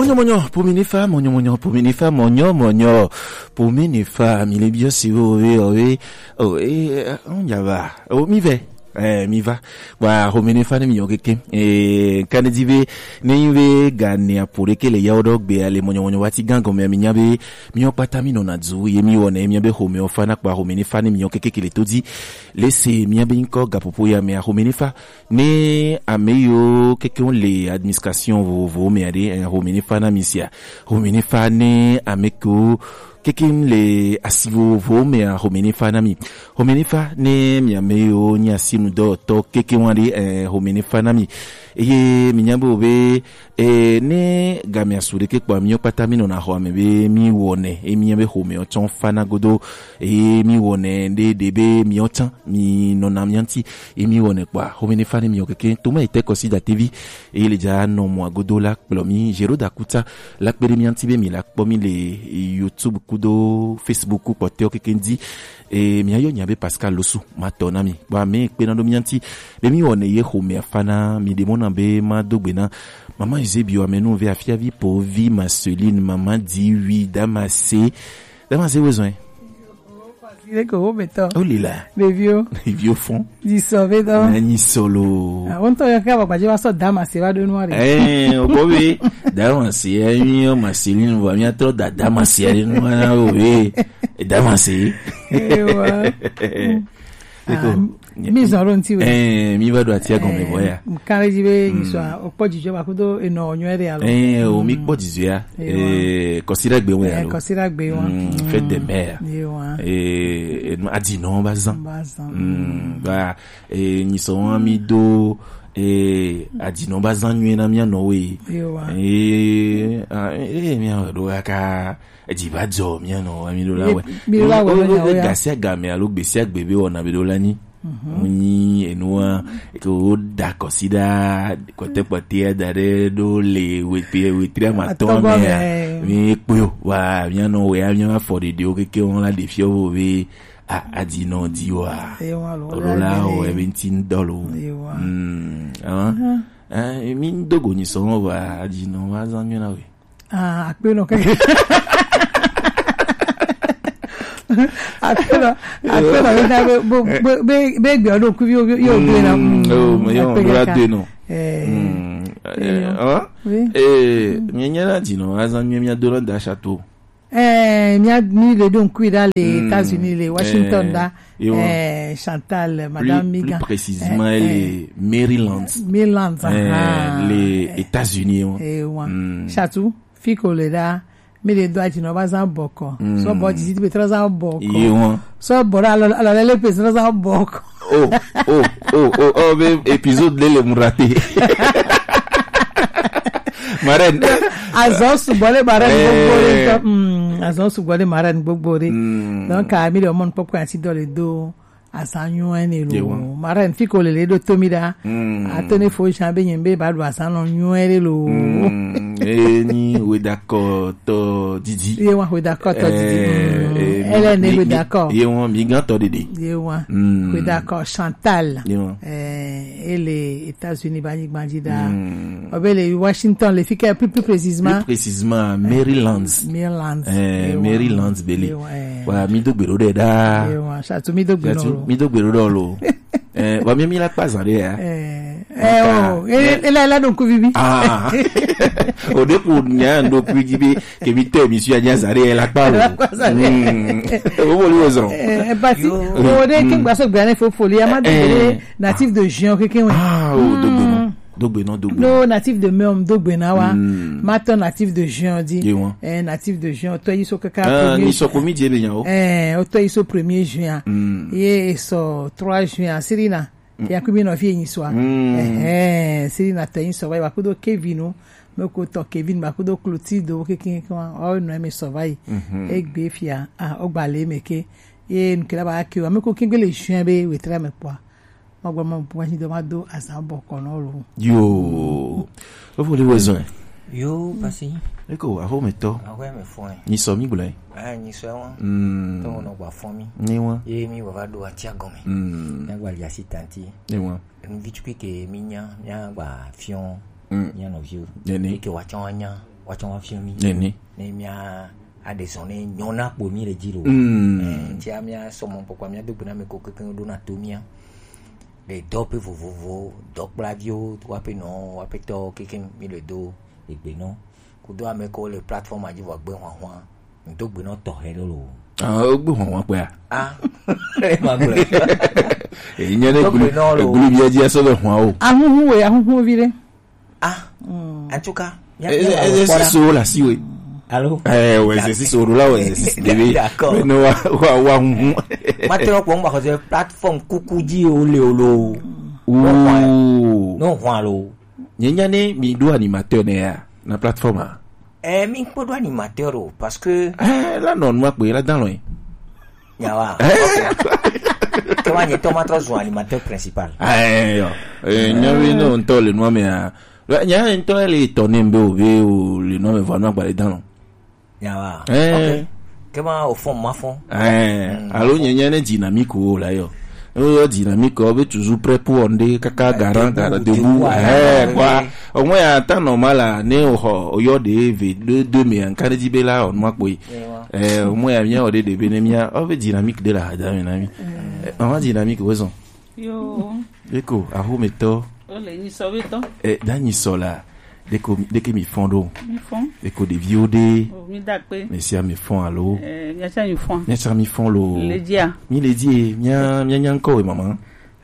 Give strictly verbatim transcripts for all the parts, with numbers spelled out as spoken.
Mɔnyɔ mɔnyɔ pomi ne fa, mɔnyɔ mɔnyɔ pomi ne fa, mɔnyɔ mɔnyɔ pomi ne fa, mi le biɔ si wo we o we o e o nya va o mi vɛ. Eh, mi va. Wa home ne fa ne mi yɔ keke. Eh, kane di ve ne yi ve ga ne apo ɖeke le yawo ɖɔ gbe ale mɔnyɔ mɔnyɔ wa ti gan gɔme mi nya be mi yɔ kpata mi nɔ na du ye mi wɔ ne mi be home o fa na kpa home ne fa ne mi yɔ keke kele to di. Lese mi be nkɔ ga popo ya me home ne fa ne ame yiwo keke wo le administration vovovowo me aɖe, eh, home ne fa na mi sia. Home ne fa ne ame kewo keke le asi vovovowo me a home ne fa na mi. Home ne fa ne mi ame yiwo nye asinudɔwɔtɔ keke wa ɖe, eh, home ne fa na mi. Eye mi nya be o be eh, ne game asu ɖeke kpɔ mi kpata mi nɔna xɔ ame be mi wɔnɛ e mi be home o tsɔn fa na godo e mi wɔnɛ ɖe ɖe be mi o tsã mi nɔna mi ŋuti e mi wɔnɛ kpɔa home ne fa ne mi o keke to ma ete kɔsi datevi e le dza nɔ mɔ agodo la kplɔ mi zero da kuta la kpe ɖe mi ŋuti be mi la kpɔ mi le YouTube kudo Facebook kpɔtɛwo keke ŋdi. E mi ayɔ nya be Pascal Losu ma tɔ na mi kpɔ ame kpe na ɖo mi ŋuti be mi wɔnɛ ye home afa na mi ɖe mɔ na be ma do gbe na Mama Eusebio amenu ve afiavi po vi Marceline mama di wi Damase. Damase wo zɔn. Ile ko wo metɔ. O lila. Ɖeviwo. Ɖeviwo fɔn. Di sɔ ve tɔ. Na nyi solo. Ah, wo ŋutɔ yɔ ke abagbaje va sɔ Damase va ɖo nua ɖe. Eh, o ko be Damase ya mi o Marceline vo mi atrɔ da Damase ya ɖe nua na o be. Damase. Ewa. Eko. Ah, mi zɔn ɖo ŋuti we. Eh, mi va ɖo atia gɔme vɔ ya. Kan le dzi be nyisɔ o kpɔ dzidzɔ ba kudo enɔ nyɔ ɖe alo. Eh, o mi kpɔ dzidzɔ ya. Eh, kɔsi ɖe gbe wo ya lo. Kɔsi ɖe gbe wo. Mm, fête des mères. Ewa. Eh, enu adinɔ ba zan. Ba zan. Mm, ba eh nyisɔ wa mi do eh adinɔ ba zan nyuie na mi anɔ we. Ewa. Eh, ah, eh mi anɔ ɖo ka edzi va dzɔ mía nɔ wa mi ɖo la wɛ. Mi ɖo la wɛ. O, o, o, ya. Gasia game alo gbesia gbe be wɔna be ɖo la nyi. Mu nyi enua ke wo da kɔsi ɖa kɔte kpɔte da ɖe ɖo le wetri wetri amatɔ me ya. Mi kpɔ wa mía nɔ wɛ ya mía afɔ ɖeɖe wo keke wo la ɖe fiɔ wo be a adzi nɔ di wa. Olo la o ebe ŋti ŋdɔ lo. Mm, ah, eh, mi ŋdo go nyi sɔ wa adzi nɔ wa zan mi na we. Ah, akpe nɔ keke. Akpe nɔ, akpe nɔ yina be be be be gbe ɔdo kuvi yo yo gbe na. Mm, yo akpe do la kaka. De no. Eh. Mm. Eh, ah? Oui. Eh, mi nyɛ na di no, azan mi mi do na da château. Eh, mi a mi le don kui da le États-Unis le Washington da. Eh, Chantal, Madame Migan. Plus précisément, elle est Maryland. Maryland, ah. Les États-Unis. Eh, ouais. Chatou, fiko le da, mi le do ati no ba zan boko. So bo di ti be tra zan boko. So bo da lo lo le pe tra zan boko. Oh, oh, oh, oh, oh, be épisode le le murate. Marraine. Azɔ sugbɔ le marraine gbogbo le tɔ. Mm, azɔ sugbɔ le marraine gbogbo le. Donc, mi le mon pop kan si do le do. Azan nyuie ne lo. Marraine fiko lele ɖo to mi ɖa. Ato ne fo jan be nyem be ba ɖo azan nɔ nyuie ɖe lo. E ni wedakɔ tɔ didi. Ye wa wedakɔ tɔ didi. Ele ne wedakɔ. Ye wa mi gan tɔ didi. Ye wa wedakɔ Chantal. Ye wa. Eh, ele États-Unis ba nyigban dzi ɖa. Obe le Washington le fike plus plus précisément. Plus précisément Maryland. Maryland. Eh, Maryland bele. Wa mi do gbero ɖe ɖa. Chatu mi do gbero. Mi do gbero ɖo lo. Eh, wa mi mi la kpa zan ɖe ya. Eh, oh, ele ele la donc vivi. Ah. O de ko nya ndo ku di be ke mi te mi su anya zan ɖe la kpa lo. O bo li o zan. Eh, parce que o de ke gba so gba ne fo fo li ama de natif de Juin keke we. Ah, o do gbero. Dogbe nɔ dogbe. No natif de Meom dogbe na wa. Matɔ natif de Juin di. Eh, natif de Juin, otɔ yi so kaka. Ah, ni sɔ komi je be nya o. Eh, otɔ yi so premier juin. Ye e sɔ trois juin sirina. Ya kubi nɔ fi nyi so. Eh, sirina tɔ yi so wa kudo Kevin o. Me ko tɔ Kevin ba kudo Clotilde o keke keke wa. O no me so va yi. Egbe fia. Ah, o gba le me ke. Ye nkela ba ke wa me ko kengbe le juin be wetra me kwa. Magblɔ ma bu anyi do ma do azan bɔ kɔ nɔ lo. Yo. Ofo le wezɔn. Yo pasi. Eko aho me tɔ. Aho me fɔn. Ni sɔ mi gblɔ. Ah, ni sɔ wa. Mm. To no gba fɔn mi. Ni wa. Ye mi wa va do atia gɔme. Mm. Na gba ya si tanti. Ni wa. Mi vi tukui ke mi nya, mi gba fion. Mm. Nya no viu. Ni ni. Ke wa chon nya. Woatsɔ woafiɔ mí. Nene. Ne mía aɖe zɔ ne nyɔ na kpo mí le dzi lo. Mm. Eh, ŋutia mía sɔmɔ kpɔkpɔ mía do gbe na ame ko kekeŋ ɖo na to mía. Le dɔwɔƒe vovovo, dɔkplaviwo, woaƒe nɔ, woaƒetɔ kekeŋ mí le do egbe nɔ. Kudo ame ko le plateforme dzi vɔ gbe hwanhwan. Ŋdo gbe nɔ tɔxɛ ɖe lo. Ah, wogbe hwanhwan kpea? Ah, ma gblɔ. Enye ne Dɔgbe nɔ lo. Eglu bia dzi asɔ be hwan o. Ahuhu we, ahuhu vi ɖe. Ah, en tout cas, mía- Eh, mía eh, eh, kpɔ ɖa. Siso la si we. Alo? Eh, ouais, c'est siso la, ouais, c'est siso. D'accord. Mais non, wa, wa, wa, hum. Maintenant, pour moi, c'est plateforme coucou di o le o lo. Ouh. Non, hwan lo. Nye nya ne mi do animateur ne ya na plateforme a? Eh, mi kpɔ do animateur o, parce que Eh, la non, moi, pour la dans loin. Nyawa. Eh? Ok. Kema nye tɔ ma trɔ zu animateur principal. Eh, yo. Eh, nyawe no ntɔ le nua me a. Nya ntɔ le tɔ ne mbe o ve o le nua me vɔ no agba le dan lo. Nyawa. Eh. Ok. Kema o fɔn ma fɔn. Eh, alo nye nya ne dynamique o la yo. Yo dynamique o be toujours prêt pour on de kaka garant garant debout. Eh, quoi. Au moins à temps normal là, ne o ho o yo de ve de de me an kan di be la on ma kpoi. Eh, o mo ya mía o ɖe ɖe be ne mía o ve dynamique de la hada me na mi. Eh, maman dynamique wezɔn. Yo. Eko, aho me tɔ. O le nyi sɔ be tɔ. Eh, da nyi sɔ la. Deko, deke mi fɔn ɖo. Mi fɔn. Eko ɖeviwo ɖe. O, mi da kpe. Mesia mi fɔn alo. Eh, mía tsa mi fɔn. Mía tsa mi fɔn lo. Le dia. Mi le die, mía, mía nya ŋkɔ we maman.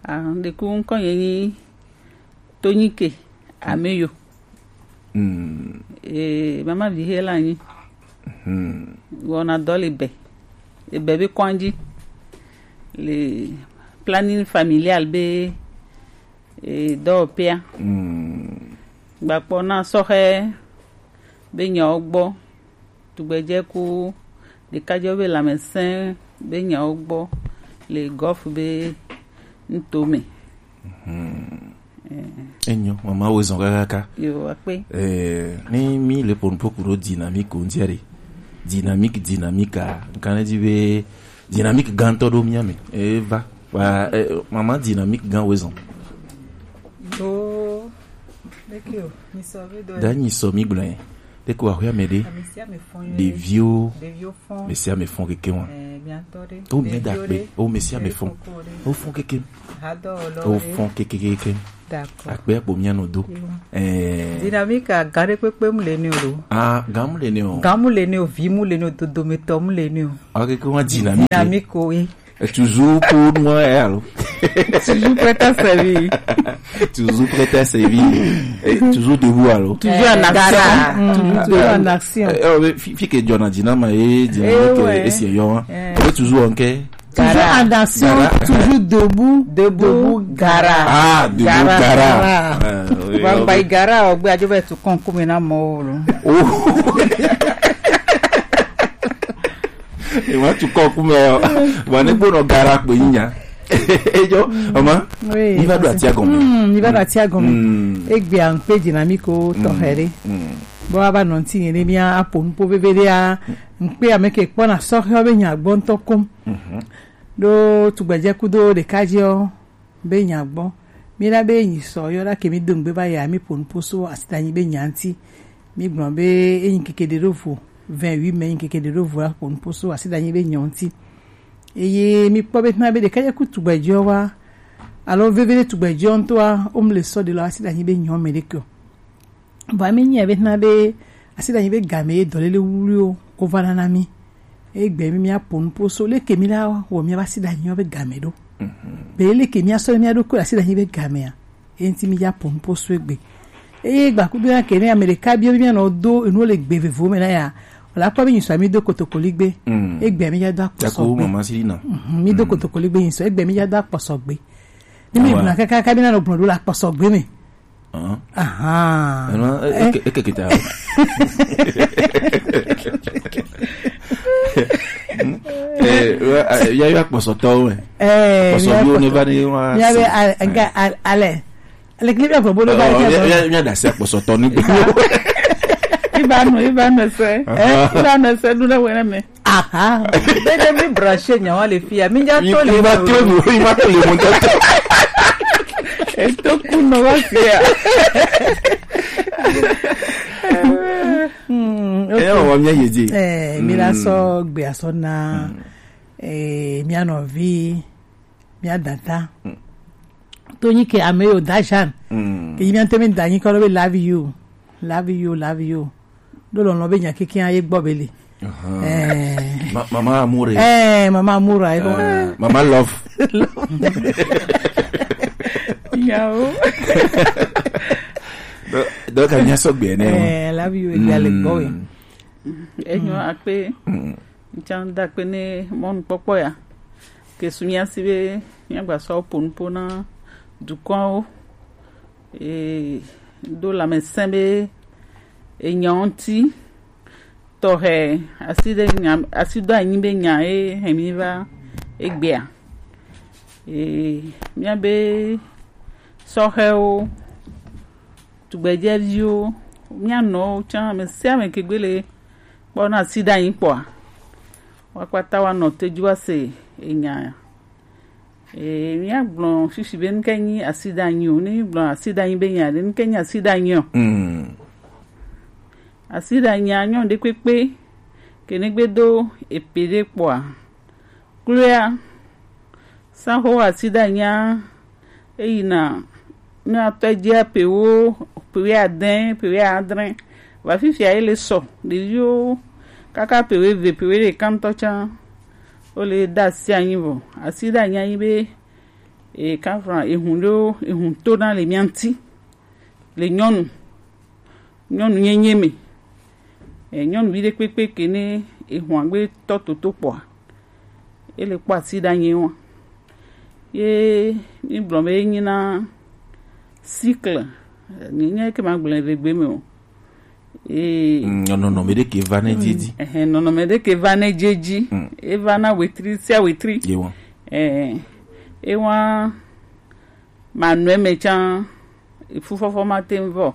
Ah, deku ŋkɔ ye nyi Tonyike Ameyo. Mm. Eh, mama vi he la nyi. Mm. Wɔna dɔ le be. Ebe be kɔndzi. Le planning familial be, eh, dɔwɔƒea. Mm. Gbakpɔ na sɔhɛ be nyawo gbɔ. Tugbedze ku ɖekadzewo be lãmesẽ be nyawo gbɔ le Gulf be nuto me. Mhm. Eh. Enyo, mama wo zɔn kakaka. Yo, akpe. Eh, ni mi le ƒo nuƒo ku ɖo dynamique ŋutia ɖe. Dynamique, dynamique a, ŋkan ɖe dzi be dynamique gãtɔ ɖo mía me. Eva. Wa, eh, maman dynamique gã wo zɔn. Yo, leke o, mi sɔ be dɔ. Da nyi sɔ mi gblɔ. Te ko axɔe me ɖe. Ame sia ame fɔn ye. Ɖeviwo. Ɖeviwo fɔn. Ame sia ame fɔn keke wa. Eh, miatɔ ɖe. O mi da kpe. O ame sia ame fɔn. O fɔn keke. Hadɔ lɔ. O fɔn keke keke. D'accord. Akpe akpo mia no do. Eh. Dynamique a gare kpekpe mu le ne o. Ah, gamu le ne o. Gamu le ne o, vi mu le ne o, dodometɔ mu le ne o. Ok, ke wa dynamique. Dynamique o, oui. Et toujours pour nous, eh, alors. Toujours prêt à servir. Toujours prêt à servir. Et toujours debout, alors. Toujours en action. Gara. Mm, toujours en action. Eh, oh, mais fi, fi ke John a dit, non, mais, eh, dit, eh, que, ouais. Et c'est, hein. Eh. On est toujours en quai. Toujours en action, toujours debout, debout, gara. Ah, debout, gara. Gara. Ah, oui, oui. Gara, o gbe ajo be tu kon ku me na mo lo. Oh. E wa tu kɔ ku me o. Wa ne gbɔnɔ gara kpe nya. Ejo, mama. Oui, mi va do atia gɔme. Mm, mi va do atia gɔme. Mm. Egbe an pe dynamique o tɔ here. Mm. Bo aba nɔ nti ne mi a po nupo veve de a. N pe ame ke kpɔ na sɔ he be nya gbɔ ntɔ kom. Mhm. Do tugbedze kudo ɖekadze o. Be nya gbɔ. Mi la be nyi sɔ yɔ la ke mi do ŋgbe va ya mi ƒo nuƒo so asidanyi be nya ŋuti. Mi gblɔ be enyi keke ɖe ɖo vo, vingt-huit mai nyi keke ɖe ɖo vo la ƒo nuƒo so asidanyi be nya ŋuti. Eye mi kpɔ be tna be ɖeka ye ku tugbedzɔ wa, alo veve ɖe tugbedzɔ ŋutɔa, wo mle sɔ ɖe lɔ asidanyi be nya me ɖe ke o. Vɔa mi nyi be na be asidanyi be game ye dɔlele wuwuliwo ko va na na mi. Egbe mi mia ƒo nuƒo so leke mi la wɔ mia va asidanyi be game ɖo. Mhm. Be leke mia sɔ mia ɖo ko asidanyi be gamea. Enti mi ya ƒo nuƒo so egbe. Eye gbakudo ya ke ne ame ɖeka bi mi anɔ do enu le gbe vevo me na ya. Wala kpɔ be nyi sɔ mi do kotokoli gbe. Mm. Egbe mi ya do akpɔsɔ Yaku gbe. Mama si na. Mhm, mi do Mm. kotokoli gbe nyi sɔ egbe mi ya do akpɔsɔ gbe. Ni mi Awa. Buna kaka ka mi na no gbɔn do la akpɔsɔ gbe me. Hã? Ahan. Eno, e, e, e, ke kita. Eh, wa, a, ya, ya kpɔsɔtɔwo me. Eh, kpɔsɔviwo ne va ne wa. Ya be, a, a, ga, a, ale. Ale kile bia gbɔ bo do ba. Oh, ya, ya, ya da se kpɔsɔtɔ ni. Iba no, iba no se. Eh, iba no se du na wena me. Aha. Be de mi branché nya wa le fia. Mi ja to le. Mi ma to le, mi ma to le mo to. E to ku no wa fia. Kɔ mía yedze. Eh, mi la sɔ gbe asɔ na, eh, mía nɔvi, mía data. To nyi ke ame yo da Jean. Ke yi mía temi da nyi kɔ be love you. Love you, love you. Do lɔlɔ be nya keke ye gbɔ be le. Eh. Ma-, mama Amure. Eh, mama Amure, eh, eh, mama Love. Yawo. Donc, donc, ka nya sɔgbe ne. Eh, love you, egbea le gbɔ we. Enyo akpe. Ŋtsã da akpe ne mɔnukpɔkpɔ ya. Ke su mía si be mía gba sɔ po nupo na dukɔwo. E do lãmesẽ be enya ŋuti tɔxɛ asi ɖe nya, asi do anyi be nya ye hɛn mi va egbea. E mía be sɔhɛwo, tugbedzɛviwo, mía nɔwo tsã, ame sia ame ke gbe le kpɔ na asi ɖe anyi kpɔa, wa kpata wa nɔ te dzi wa se enya. Ee, míagblɔ shishi be nuke nyi asiɖeanyi o. Ne mígblɔ asiɖeanyi be nya ɖe, nuke nyi asiɖeanyi o? Mm. Asiɖeanyia nyɔ ɖekpekpe ke ne gbe do epe ɖe kpɔa, kloea saxo asiɖeanyia eyina ne atɔ dzia pewo, pewe adẽ, pewe adrẽ. Va fifia ye le sɔ. Ɖeviwo kaka pewe eve, pewe ɖeka ŋutɔ tsã, wo le ɖe asi anyi vɔ. Asiɖeanyi anyi be, e, kafra, ehun ɖewo, ehun tona le mía ŋuti, le nyɔnu, nyɔnu nyenye me. E, nyɔnuvi ɖekpekpe ke ne ehun agbe tɔ toto kpɔa, ele kpɔ asiɖeanyi wa. Ye mi gblɔ be enyi na cycle, nye, nye ke ma gblɔ le gbe me o. Ee. Mm, nɔnɔme ɖe ke va ne dzi dzi. Ɛhɛn, nɔnɔme ɖe ke va ne dzi dzi. Mm. Eva na wetri sia wetri. Ye wa. Ɛɛ, ewa manɔe me tsã, fufɔfɔ ma te ŋu vɔ.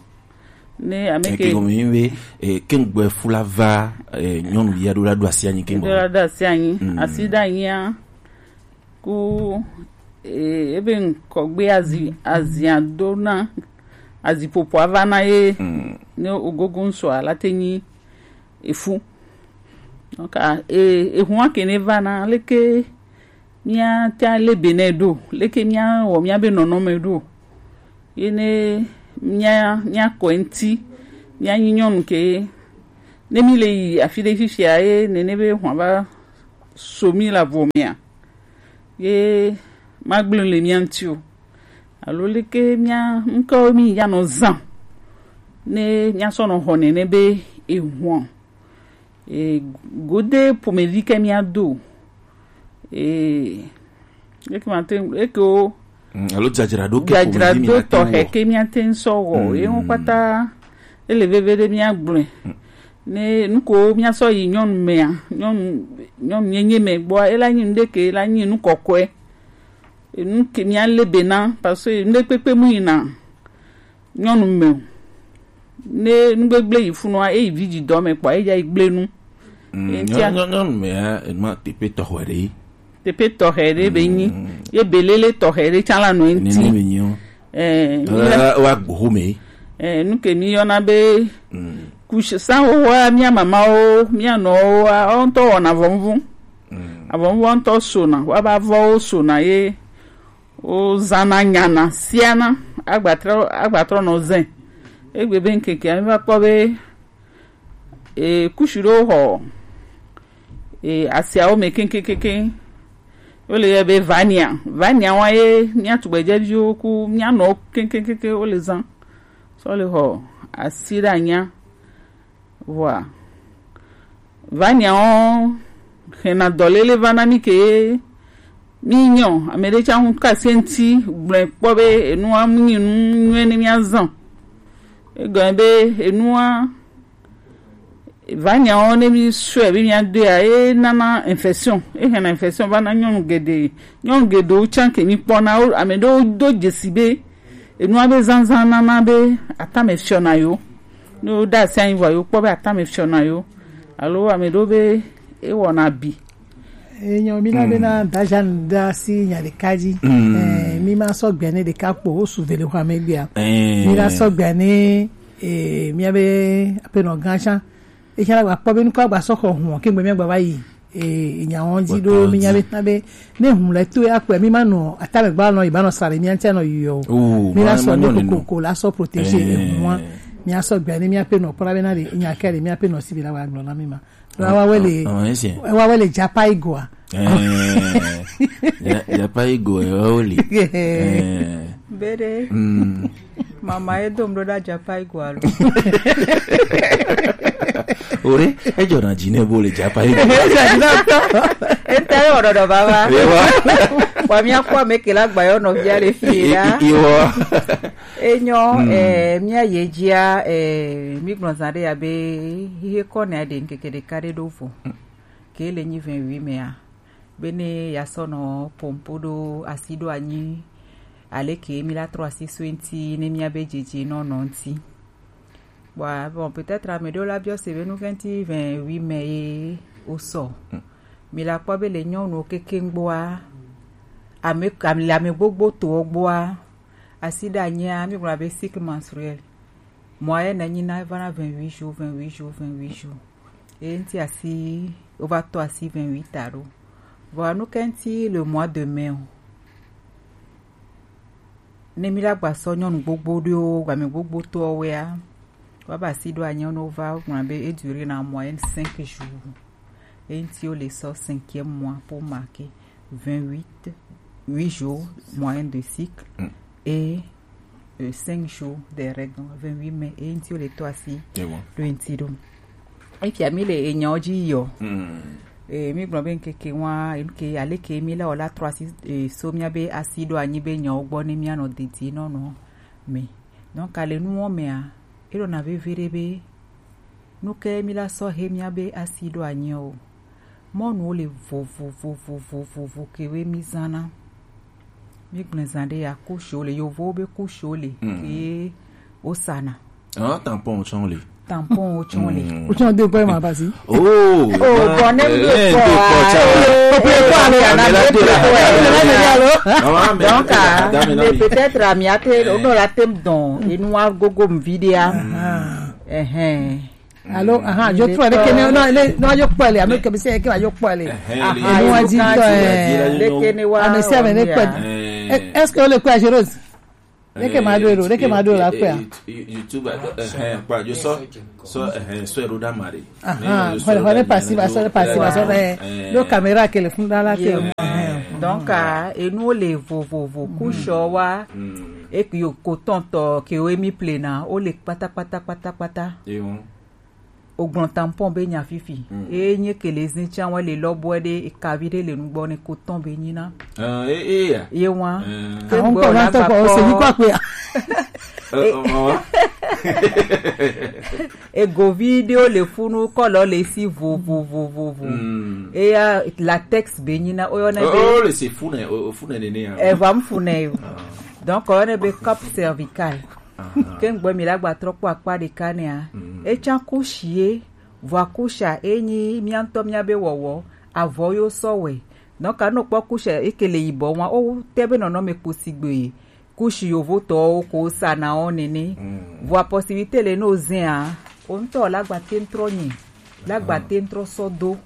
Ne ame ke gɔme be, eh, ke ŋgbɛ fu la va, eh, nyɔnu ya ɖo la ɖo asi anyi ke ŋgbɔ. Ɖo la ɖo asi anyi. Mm. Asiɖeanyia ku, eh, ebe ŋkɔgbe azi, azia do na, azi popo ava na ye. Mm. Ne ogogo ŋsɔ ala te nyi efu. Donc, ah, eh, ehun ake ne va na, leke mía te ale be nɛ ɖo, leke mía wɔ mía be nɔnɔme ɖo. Ye ne mía, mía kɔ ŋuti, mía nyi nyɔnu ke, ne mi le yi afi ɖe fifia ye nene be hwan va so mi le avɔ mea, ye ma gblẽ le mía ŋuti o. Alo leke mía ŋkewo mi ya nɔ zã ne mía sɔ nɔ xɔ nene be ehwan. E, gode ƒomevi ke mía do. E, eke ma te, eke wo. Mm, alo dzadzraɖo ke ƒomevi mi na te wɔ. Dzadzraɖo tɔxɛ ke mía te ŋu sɔ wɔ. Mm. Ye ŋu kpata, ele veve ɖe mía gblɔe. Mm. Ne nuko mía sɔ yi nyɔnu mea, nyɔnu, nyɔnu nyenye me gbɔa, ela nyi nu ɖe ke, ela nyi nu kɔkɔe. Enu ke mía le be na, parce que nu ɖe kpekpe mu yina nyɔnu me o. Ne nugbegble yi funua, eyi vi dzi dɔ me kpɔ, eya yi gble nu. Mm, etia nyɔ-, nyɔ-, nyɔnu mea, enua teƒe tɔxɛ ɖe. Teƒe tɔxɛ ɖe be nyi. Mm. Ye belele tɔxɛ ɖe tsã la nɔ enti. Nene me nyi o. Eh, eh, wa gboho me. Eh, nu ke mi yɔna be, mm, kush-, sanwowoa, mía mamawo, mía nɔwoa, wo ŋutɔ wɔna avɔvuvu. Mm. Avɔvuvu ŋutɔ sona, wa ba vɔwo sona ye. Wozãna nyana siana agbatrɔ, agbatrɔ nɔ zẽ. Egbe be ŋkekea, mi va kpɔ be, e, kusi ɖewo xɔ, e, asiawo me keŋkeŋkeŋ. Wole yɔ be vania. Vania wa ye mía tugbedzeviwo ku mía nɔwo keŋkeŋkeŋ wole zã. Sɔ le xɔ asiɖeanyia. Vɔa, vaniawo hɛna dɔlele va na mi ke mi nyɔ. Ame ɖe tsã ŋu kase ŋuti gblɔe kpɔ be enua mu nyi nu nyuie ne mía zã. Egɔme be enua, vaniawo ne mi sɔe be mía doea, e nana infection, e hɛna infection va na nyɔnu geɖe. Nyɔnu geɖewo tsã ke mi kpɔna wo, ame ɖewo do dzesi be enua be zazã nana be atame fiɔna yo. Ne woɖe asi anyi vɔ, yewokpɔ be atame fiɔna yo. Alo ame ɖewo be ewɔna abi. Enyo, mi na be na da Jeanne ɖe asi nya ɖeka dzi. Mm. Eh, mi ma sɔ gbea ne ɖeka kpo, wo su ve le xɔa me gbea. Eh. Mi na sɔ gbea ne, eh, mía be aƒenɔ gã tsã. Etsã la gba kpɔ be nukɔ agba sɔ xɔ hùn ke gbe mia gba va yi. E nya wɔn dzi ɖo mi nya be na be ne hùn le to ya kpɛ mi ma nɔ atame gba nɔ yi ba nɔ sa ɖe mia ŋtia nɔ yi o. Mi la sɔ ne kokoko la sɔ protéger ehùn wa. Mi asɔ gbɛ ne mia pe nɔ kpɔ la be na ɖe nya kɛ ɖe mia pe nɔ si bi la wa gblɔ na mi ma. Wa wa wele wa wele japa igoa. Japa igoa wa wele. Bede. Mama ye dom ɖo ɖa japa igoa lo. Ore, ejɔ na dzi ne bo le japa igoa. Eta ye ɔdɔdɔ baba. Wa mi akɔ ame ke la gba yɔ nɔvia le fi la. Iwɔ. Enyo, eh, mia ye dzia, eh, mi gblɔ zã ɖe ya be ihe kɔ ne aɖe ŋkeke ɖeka ɖe ɖo vo. Ke le nyi vingt-huit mea, be ne ya sɔ nɔ pompo ɖo asi ɖo anyi, ale ke mi la trɔ asi so ŋti ne mia be dzedze nɔ nɔ ŋti. Bon, bon, peut-être ame ɖewo la biɔ se be nu ke ŋti vingt-huit mai ye wo sɔ. Mi la kpɔ be le nyɔnuwo kekeŋ gbɔa, ame, ame, le ame gbogbo towo gbɔa, asi ɖe anyia, mi gblɔ be cycle menstruel. Moyenne enyi na eva na vingt-huit jours, vingt-huit jours, vingt-huit jours. Ye ŋti asi, wova tɔ asi vingt-huit ta ɖo. Vɔa nu ke ŋti le mois de mai o. Ne mi la gba sɔ nyɔnu gbogbo ɖewo, ame gbogbo tɔwo wea, wa ba asi ɖo anyia ne wova gblɔ be e dure na moyenne cinq jours. Ye ŋti wo le sɔ cinquième mois pour marquer vingt-huit, huit jours moyenne de cycle et euh, cinq jours des règles, donc vingt-huit mai, ye ŋti wo le tɔ asi ɖo ŋti ɖo. Efia mi le enyawo dzi yɔ. Eh, mi gblɔ be ŋkeke wa, ŋke aleke mi la wɔ la trɔ asi eh, so mia be asi ɖo anyi be nyawo gbɔ ne mia nɔ didi nɔ nɔ me. Donc ale nuwo mea, e ɖo na veve ɖe be nu ke mi la sɔ he mia be asi ɖo anyi o. Mɔnuwo le vovovovovovo ke we mi zana. Mi gblẽ zã ɖe ya couche wo le yovowo be couche wo le ke wo sana. Ah, tampon tsɔn le. Tampon wo tsɔn le. Wo tsɔn de kpɛ ma basi. Oh, oh, bon, ne mi de kpɔ a. Ko pe ko a le ya na me de la. Donc, mais peut-être ami ate, on aura tem don, et nous a gogo vidéo. Eh eh. Alo, aha, jo tu ale kene no le no jo kpɔ le, ame ke bi se ke jo kpɔ le. Aha, no wa di to eh. Le kene wa. Ame se ame ne kpɔ. Est-ce que le kpɔ Jérôme? Le ke ma do ro, le ke ma do la kpɔ. YouTube eh eh pa jo so so eh so ro da mare. Aha, hore hore pasi ba so pasi ba so eh. Do caméra ke le fun da la ke. Donc, et nous les vo vo vo couche wa. E ke yo coton to ke we mi plena, o le pata pata pata pata. O gblɔ tampon be nya fifi. Eye nye ke le zin tsa wɔ le lɔbɔɛ ɖe ekavi ɖe le nugbɔ ne coton be nyina. Ye wa. Ke gbɔ la gba kpɔ. Egovi ɖewo le funu kɔlɔ le si vovovovovo. Eya latex be nyina o yɔ ne be. O le si fune o fune nene ya. Eva mfune yo. Donc o yɔ ne be cup cervical. Ke ŋgbɔ mi la gba trɔ kpɔ akpa ɖeka nɛa, etsã kushi ye, vɔa kusha enyi mia ŋutɔ mia be wɔwɔ, avɔ yo sɔ wɛ. Donc a nɔ kpɔ kusha eke le yibɔ wa, o te be nɔnɔme kpo sigbe ye. Kushi yovo tɔwo ko sa na wo nene. Vɔa possibilité le no zɛn a, o ŋutɔ la gba te ŋtrɔ nyi, la gba te ŋtrɔ sɔ do.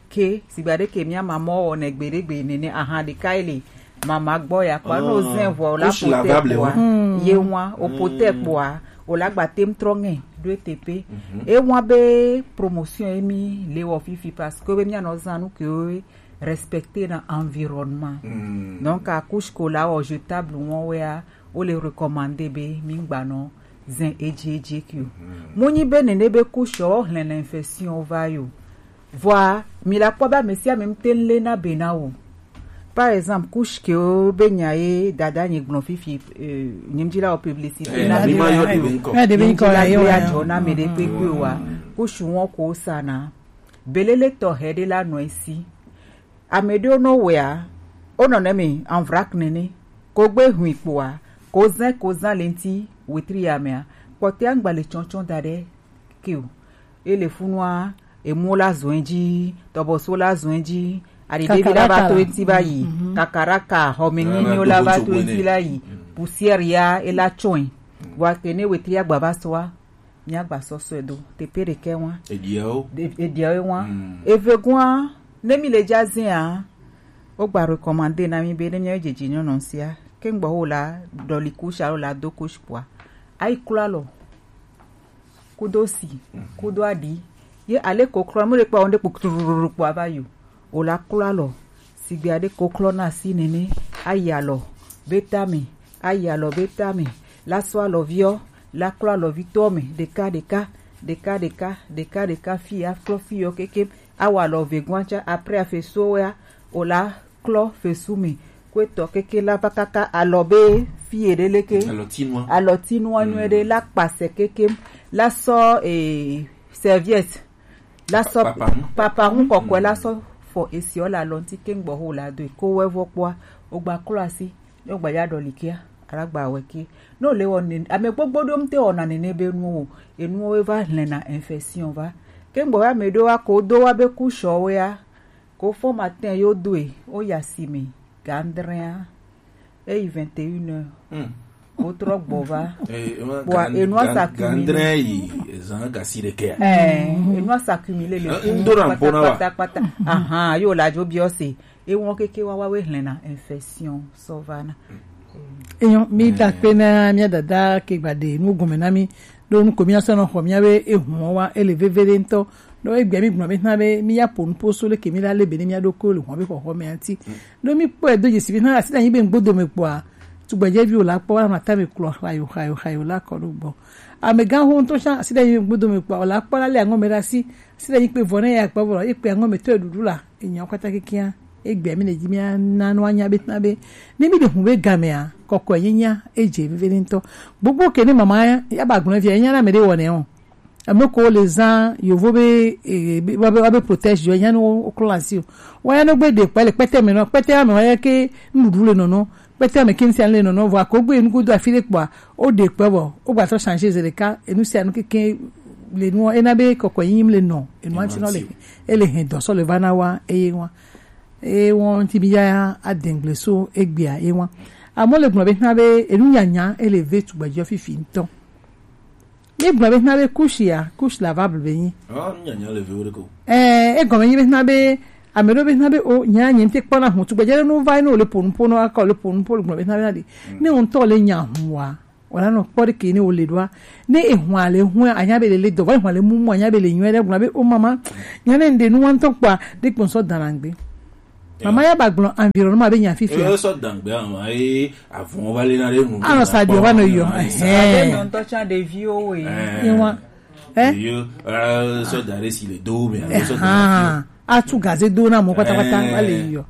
Ke sigba ɖe ke mia mamɔ wɔ ne gbe ɖe gbe nene aha ɖeka ele mama gbɔ ya kpɔ no zɛn vɔ o la pote kpɔa ye wa o pote kpɔa o la gba tem trɔ ŋɛ do ete pe e wa be promotion emi le wɔ fifi parce que be mia nɔ zan nu ke o respecter na environnement. Donc a couche ko la wɔ jetable wɔn wea o le recommander be mi gba nɔ zɛn edzi edzi ke o. Mo nyi be nene be couche o hlɛn infection va yo. Vɔa mi la kpɔ be ame sia ame ŋute le na be na wo. Par exemple, couche ke wo be nya ye dada nyi gblɔ fifi eh, nyimdzi la wo publicité na be na yo. Nyimdzi la be adzɔ na me ɖe kpekpe wa. Couche wɔn ko sa na. Belele tɔ hɛ ɖe la nɔ esi. Ame ɖewo nɔ wɛa, wonɔ ne me en vrac nene. Ko gbe hui kpoa, ko zɛn ko zan le ŋti wetri ya mea, kpɔtɛa ŋgba le tsɔtsɔ da ɖe ke o. Ele funua, emu la zɔn edzi, tɔbɔso la zɔn edzi, aɖeɖevi la va to eti va yi, kakaraka, xɔme nyinyiwo la va to eti la yi, poussière ya ela tsɔe. Vɔa ke ne wetri agba va sɔa, Mía gba sɔsɔe do teƒe ɖekɛ wa. Ediawo. De- Ediawo wa. Mm. Eve gua, ne mi le dza zea, wo gba recommandé na mi be ne mía jeji nyɔnɔ sia, ke ŋgbɔ wo la ɖɔli couche alo la do couche kpoa, ayi klɔ alɔ, kudo si, kudo aɖi, ye ale ko klɔ, mu ɖe kpɔ, wo ɖe kpo trururu kpoa va yo. O la klɔ alɔ, sigbe aɖe ko klɔ na asi nene, ayi alɔ be tame, ayi alɔ be tame, la sɔ alɔviɔ, la klɔ alɔvi tɔ me, ɖeka ɖeka, ɖeka ɖeka, ɖeka ɖeka, fi aklɔ fi yɔ keke, awɔ alɔ ve gwan tsa, après afe so ya, o la klɔ fe su me, kwe tɔ keke la va kaka alɔ be fi ye ɖe leke, alɔtinua, alɔtinua nyuie ɖe, la kpasɛ keke, la sɔ eh, serviette, la sɔ papa ŋu, papa ŋu kɔkɔe la sɔ fɔ esiɔ le alɔ ŋuti ke ŋgbɔ ho la doe ko wɛ vɔ kpɔa, o gba klɔ asi, ne o gba ya ɖɔli kia, ala gba wɛ ke. Ne o le wɔ ne ame gbogbo ɖo ŋute wɔna nene be nu o, enuwo va hlɛna infection va. Ke ŋgbɔ ya ame ɖo wa ko do wa be couche wo ya, ko fɔ matin yo doe, o ya si me, ga adrea, eyi vingt et une heures. Hmm. Wotrɔ gbɔ va. Eh, ema Bua gan- enua gan- sa cumulé. Gandrɛ yi ezan gasi ɖekɛa. Eh, enua sa cumulé le Eh, ŋdo na ŋpo na wa. Kpata kpata. Ahan, yo la jo biɔ se. Ewɔ keke wa wa we hlɛna infection sɔ va na. Eyan mi da kpe na mi dada ke gba de nu gome na mi. Do nu ko mi asɔ na xɔ mi abe ehun wa ele veve de ŋtɔ. Do egbe mi gbɔn be na be mi ya po nu po so le ke mi la le be ne mi ado ko le xɔ be xɔxɔ me anti. Ɖo mi kpɔe do dzesi be hã asi ɖe anyi be ŋgbodo me kpɔa, tugbedzeviwo la kpɔ anɔ atame kplɔ xayo xayo xayo la kɔ ɖo gbɔ. Amegã ho ŋutɔ tsã asi ɖe anyi be ŋgbodo me kpɔa, wòla kpɔ la lé aŋɔ me ɖe asi, asi ɖe anyi kpe vɔ ne ya kpɔ vɔ, ye kpe aŋɔ me tɔe ɖuɖu la, enya wo katã kekeŋ, egbea mi le dzi mía na nɔ anya be na be ne mi ɖe hu be gamea, kɔkɔe nyinya edze veve ɖe ŋutɔ. Gbogbo ke ne mama ya ba gblɔ via nya na me ɖe wɔ ne o. Ame ko le zã yovo be eh, be- wa be wa be protège yo nya no o klo asi o. Wa ya no gbe de kpɛ le kpɛtɛ me no kpɛtɛ me wa ya ke nuɖuɖu le nono kpɛtɛ me ke nsia le nono vɔ ko gbe nugo do afi le kpɔ o de kpɛ vɔ o gba trɔ changer ze ɖeka enu sia nu keke le nu ena be kɔkɔ yim le no enu anti no le ele hɛn dɔ sɔ le va na wa eye wa eye wɔn ti bi ya adengble so egbea ye wa amo le gblɔ be na be enu nyanya ele ve tugbedzɔ fifi ŋutɔ. Mi gblɔ be na be kushi ya, kushi la va blu be nyi. Ah, nyanya le viwo ɖeko. Eh, egɔme nyi be na be ame ɖewo be na be o nya nye ŋte kpɔna hu tugbedze ɖe nu va ne wòle ƒonu ƒo no akɔ le ƒonu ƒo le gblɔ be na be na ɖe. Ne wo ŋutɔ le nya hu wa, wòla nɔ kpɔ ɖe ke ne wòle ɖoa. Ne ehua le hu anya be le le dɔ va ehua le mumu anya be le nyuie ɖe gblɔ be o mama nya ne ŋɖe nu wa ŋutɔ kpɔa ɖe kpɔ ŋsɔ dana ŋgbe. Mama ya ba gblɔ environnement be nya fifia. Eye sɔ dangbe ama eye avɔn va le na ɖe nu. Anɔ sa dio va nɔ yɔ. Abe nɔntɔ tsa ɖeviwo we. Ewa. Eh? Yo, eh, sɔ da ɖe si le do me. Alo sɔ da ɖe si. Atu gaze do na mo patapata va le yɔ.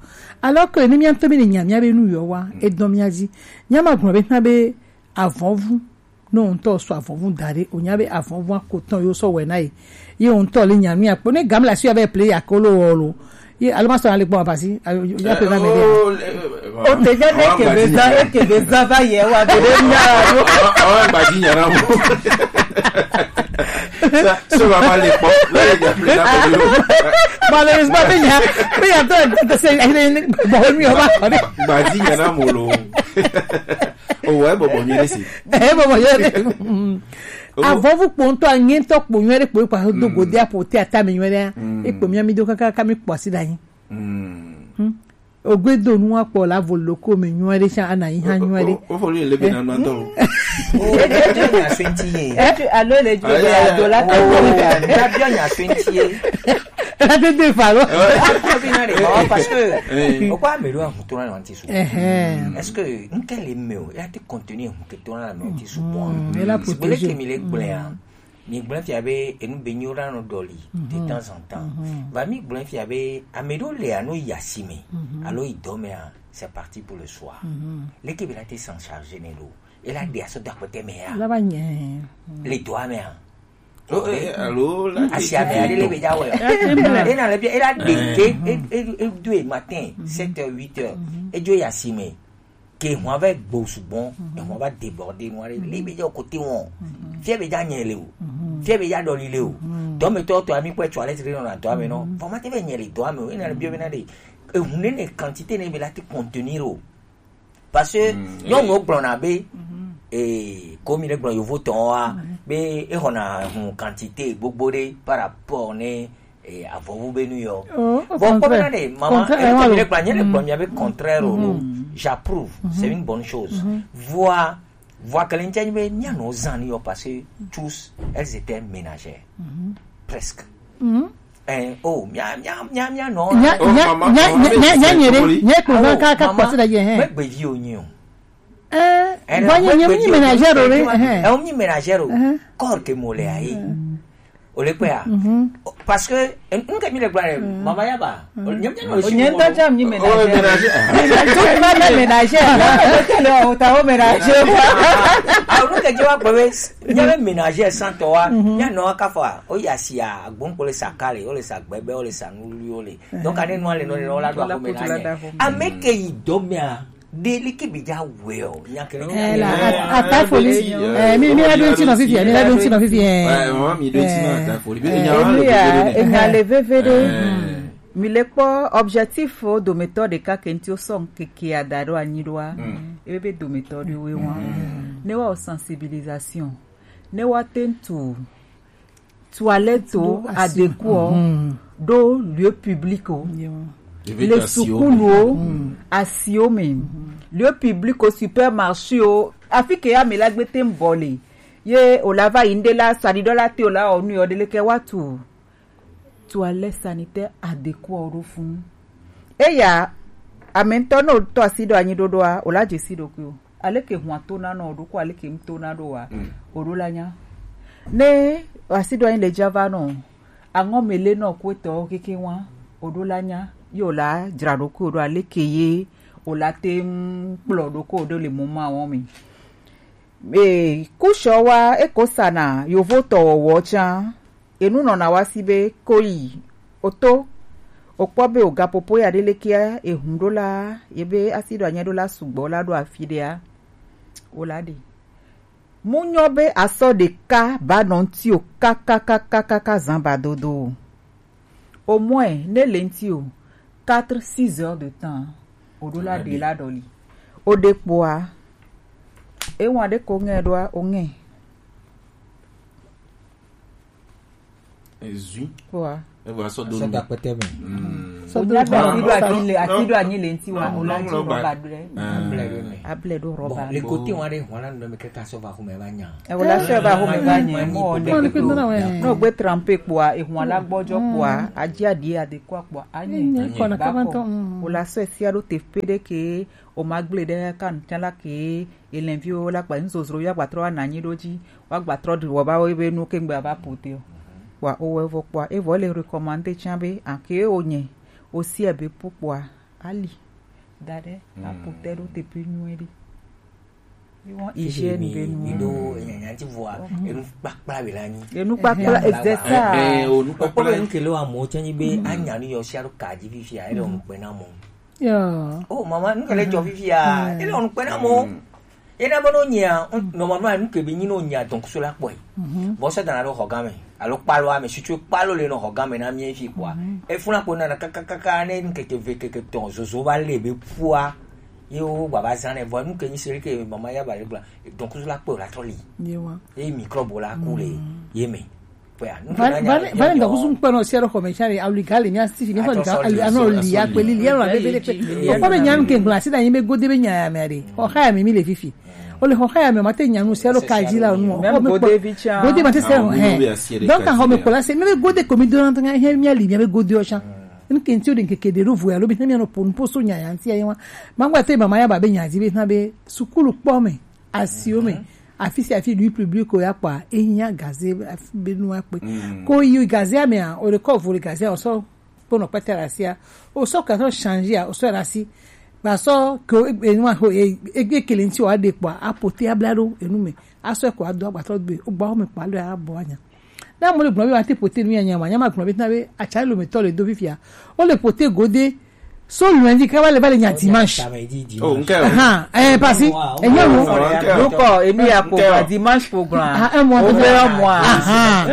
Alors que ni mia ŋutɔ mi le nya mia be nu yɔ wa edɔn mia dzi. Nya ma gblɔ be na be avɔvu ne wo ŋutɔ sɔ avɔvu da ɖe, wònya be avɔvua ko tɔn yewo sɔ wɔe na ye. Ye wo ŋutɔ le nya nu ya kpɔ. Ne game la si ya be play ya kolo wɔ lo. Ye alo ma sɔ na le gbɔ abasi. Ayo ya pe na me de. O te ja ne ke be za, e ke be za va ye wa be de nya. Awa gbadi nya na mo. So va ma le kpɔ. La ye ja play na mo lo. Malheureusement, pe nya, pe nya to to se ayi ne bo mi o ba. Gbadi nya na mo lo. O wa e bɔbɔ nyuie ɖe si. E bɔbɔ nyuie ɖe. Avɔvu kpo ŋutɔ anyetɔ kpo nyuie ɖe kpo ekpa do gode apo te ata me nyuie ɖe. Ekpo mia mi do kaka kaka mi kpɔ asi ɖe anyi. Ogbe do nu akpɔ la vo loko me nyuie ɖe sa ana yi ha nyuie ɖe. O fo le be na ma to. O e de nya twenty ye. Etu alo le ju be ado la to. La bi nya twenty ye. La de de fa lo. Ko bi na de parce que o kwa me lo ahun to na ti su. Est-ce que n kɛ le me o ya te contenir ehun ke to na me ti su bon. Sigbe leke mi le gblẽ a. Mi gblẽ fia be enu be nyi wo la nɔ ɖɔli de temps en temps. Va mi gblẽ fia be ame ɖewo le alo yi asime alo yi dɔ me a, c'est parti pour le soir. Leke be la te s'en charger ne lo. E la ɖe asɔ do akpɛtɛ me a. La va nye. Le dɔa me a. Alo la asi ame aɖe le be dza wɔ ya. Ena le bia ela ɖe ke e e e do e matin sept heures huit heures e dzo yi asime ke hɔn va gbɔ sugbɔ ehɔn va débordé nu aɖe le be dza kote wɔn fia be dza nye le o fia be dza ɖɔli le o dɔmetɔ tɔ ami kpɛ tso ale ti le nɔna dɔa me nɔ vɔ ma te be nye le dɔa me o ena le bia be na ɖe ehun ne ne quantité ne be la te contenir o. Parce que nyɔnuwo gblɔna be eh, comme mi le gblɔ yovo tɔn wa, be e hɔna hun quantité gbogbo ɖe par rapport ne, eh, avɔvu be nu yɔ. Oh, au bon, contraire. Kpɔmina ɖe, mama, contraire, eh, ema mi le gblɔ, nye le gblɔ, mi abe contraire o, j'approuve, c'est une bonne chose. Voa, voa kele ŋtsia nyi be, mia nɔ zan ni yɔ parce que tous, elles étaient ménagères. Presque. Eh, oh, mia, mia, mia, mia nɔ. Nya, Oh, nya, mama, nya, mama, nya, nya, nya, nye ɖe, nye kpo va ka, ka mama, kpɔ se ɖe ye, hɛn. Megbe vi o nyi o. Eh, eh, va nye, nye, nye ménagère o, eh, eh. Eh, nye ménagère o. Eh. Corps ke mo le ayi. O le kpea? Parce que, eh, n ke mi le gblɔ ɖe, mama ya ba. O le nye, nye, o nye ŋutɔ tsã mi ménagère. Oh, ménagère. Tu pas la ménagère. Là, o ta o ménagère. Ah, o nu ke je wa gbe we, nye ménagère sans toi. Nye nɔ ka fa. O ya si a, gbɔn ko le sa kale, o le sa gbɛgbɛ, o le sa nuli, o le. Donc, ane nua le nɔ le nɔ la do a ko ménagère. Ame ke yi dɔ mea. Ɖe leke be dza wɔe o, nya ke ne. Eh, la, at-, atafoli. Eh, mi, mi la ɖo ŋti nɔ fifi, mi la ɖo ŋti nɔ fifi, eh. Ouais, maman, mi ɖo ŋti nɔ atafoli. Be nya wa le veve ɖe. Enya le veve ɖe. Eh. Mi le kpɔ objectif o dometɔ ɖeka ke ŋti o sɔ keke ada ɖo anyi ɖoa. Ebe be dometɔ ɖe we wa. Ne wa o sensibilisation. Ne wa te ŋtu toilette o, adekuo, ɖo lieu public o, le sukulu o, asiwo me, lieu public o, supermarché o, afi ke ame la gbe te ŋ bɔ le, ye o la va yi ŋɖe la, saɖiɖɔ la te o la ɔ nu yɔ ɖe leke wa tu toilette sanitaire adekuo ɖo funu. Eya, ame ŋutɔ ne wotɔ asi ɖo anyi ɖoɖoa, wòla dze si ɖokui o. Aleke hua tona nɔ ɖo ko aleke ŋutona ɖo wa, o ɖo la nya. Ne asi ɖo anyi le dza va nɔ, aŋɔ me le nɔ ko etɔ keke wa, o ɖo la nya. Ye wòla dzra ɖokui o ɖo aleke ye wòla te ŋu kplɔ ɖo ko o ɖo le mɔ ma wɔn mi. E, kushɔ wa eko sana yovo tɔ wɔwɔ tsa. Enu nɔna wa si be koyi oto, okpɔ be ogapopo ya ɖe lekea ehun ɖo la, ye be asi ɖo anyɛ ɖo la sugbɔ la ɖo afi ɖea, wo la ɖe. Mu nyɔ be asɔ ɖeka ba nɔ ŋti o kakakakaka zan ba dodo o. Au moins ne le ŋti o quatre six heures de temps, o ɖo la ɖe la ɖɔli. O ɖe kpoa, ewa ɖe ko ŋɛ ɖoa, o ŋɛ. Ezui. Wa. Eva sɔ do nu. Sɔ da kpɛtɛ mɛ. Sɔ do nu. Ati do ati le ŋti wa, o la ti rɔba do lɛ. Able do rɔba. Le kote wa ɖe hɔn la nu mɛ kɛkɛ sɔ va xɔme va nya. E wala sɔ va xɔme va nya. Mo ne ko no gbe trempe kpoa, e hɔn la gbɔjɔ kpoa, aji adi ade kɔ kpoa, anyi. Ba kɔ. O la sɔ sia ɖo te pe ɖe ke, o ma gble ɖe ka ŋtsa la ke, Elɛnviwo la kpa nuzozro ya gbatrɔ wa nanyi ɖo ji, wa gbatrɔ ɖi wɔ ba wo be nu kengbe ava pote o. Wa o wɛ vɔ kpɔa, e vɔ le recommandé tsã be, ake o nyɛ, o si ebe pu kpɔa, ali. Da ɖe, a pote ɖo teƒe nyuie ɖe. Hygiène be nu. Mi ɖo nyanya ti vɔa, enu kpakpla be la nyi. Enu kpakpla, c'est ça. Eh, eh, enu kpakpla. Okpɔ be nu ke le wa mo tsɛ nyi be, anya nu yɔ sia ɖo ka ji fifia, ele o nu kpe na mo. Yo. Oh, mama, nu ke le dzɔ fifia. Ele ɔnu kpe na mo. Ena be no nyia, normalement, nu ke be nyi no nyia donc so la kpɔe. Bon, ça dans le hogame. Alors, kpalo ame, si tu kpalo le no hogame na mi fi quoi. E funa ko na kakakaka ne nkeke ve keke ton zozo ba le be pua. Ye o baba zane vo nu ke nyi seri ke mama ya ba le bla. Donc so la kpɔe la toli. Ye wa. E microbe la kule. Ye me. Va, va, va le ŋdɔkusu ŋkpɛ nɔ sia ɖe xɔme sia ɖe, awu liga le mia si fi, ne xɔ liga, ali, anɔ li, akpe li, li, anɔ la bebe ɖe kpe. Okpɔ be nya nu ke ŋgblɔ asi ɖe anyi be gode be nya ya mea ɖe. Xɔxa ya me mi le fifi. O le xɔxa ya me ma te nya nu sia ɖo ka dzi la nu. Même gode vi tsa. Gode ma te se hɛ. Donc, axɔme kpɔla se, mi be gode ko mi do na tɔ nya, hɛ, mia li, mia be gode o tsa. Nu ke ŋti o ɖe ŋkeke ɖe ɖo vo ya lo be, hɛ, mia nɔ po nu po so nya ya ŋti ya ye wa. Ma ŋgba te mama ya ba be nya dzi be, na be, sukulu kpɔ me. Asiwo me. Afi sia afi lieu public o ya kpɔa, ehiã gaze afi be nu akpe. Ko yi gaze amea, o le kɔ vo le gaze a, o sɔ kpɔnɔ kpɛtɛ ɖe asia. O sɔ ka sɔ changer a, o sɔ ɖe asi. Ba sɔ ke o, e, enua ho, e, e, e kele ŋti o aɖe kpɔa, apote abla ɖo enu me. Asɔ ko ado agbatɔ do, o gba o me kpa lo ya bɔ anya. Na mo le gblɔ be wa te pote nu ya nya ma, nya ma gblɔ be na be atsa lo me tɔ le do fifia. O le pote gode, so lundi ka va le, va le nya dimanche. Oh, ŋkɛ. Ahan, eh, parce que, eh, nya mo. Ŋkɛ. Donc, eh, enu ya ko, dimanche ko grand. Ah, un mois. O fait un mois. Ahan.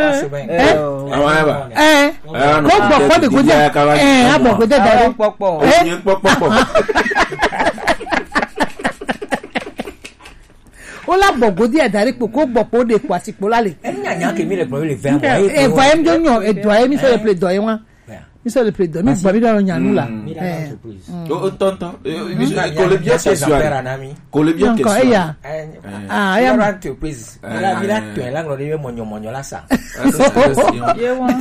Eh. Awa ya ba. Eh. Ko gbɔ ko de gode. Eh, a gbɔ gode da. Kpɔkpɔ. Eh. Kpɔkpɔ. Ko la bɔ godi ada ɖe kpo, ko gbɔ kpo ɖe kpo asi kpo la le. Enya nya ke mi le gblɔ le vɛ mɔ. E vɔ em jo nyɔ, e dɔ e mi so le ple dɔ e wa. Mi so le ple dɔ, mi gbɔ mi ɖo nya nu la. Mi la entreprise. O o tɔntɔn. Ko le bien question. Ko le bien question. Eya. Ah, eya. Entreprise. Mi la mi la tɔ la ŋlɔ de mɔnyɔ mɔnyɔ la sa.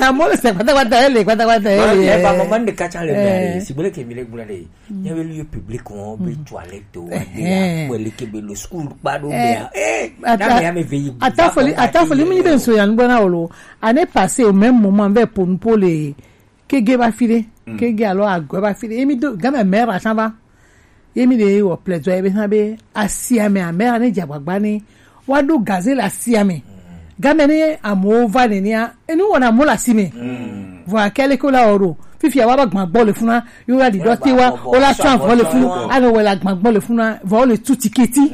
Amo le se kpata kpata ele kpata kpata ele. E ba mama ne ka cha le me. Si bole ke mi le gblɔ de. Nye be lieu public wɔn be toilette wa de ya kpɔ le ke be le school kpa ɖo mea. Eh, na me ya me ve yi. Atafoli, atafoli mi be nso ya ngbɔ na wolo. Année passée au même moment ve ponu po le kege ba fi de. Kege alo agwe ba fi de. Emi do game mera san ba. Emi de wo plaidoyer be san be asia me amera ne jagbagba ni. Wa do gazé le asia me. Game ne amowo va nenea, enu wɔna mo le asi me. Vɔ akele ko la oro. Fifia wa ba gbã gbɔ le funa, yo la di dɔ te wa, o la sɔ avɔ le funu, alo wɔ la gbã gbɔ le funa, vɔ o le tu tiketi.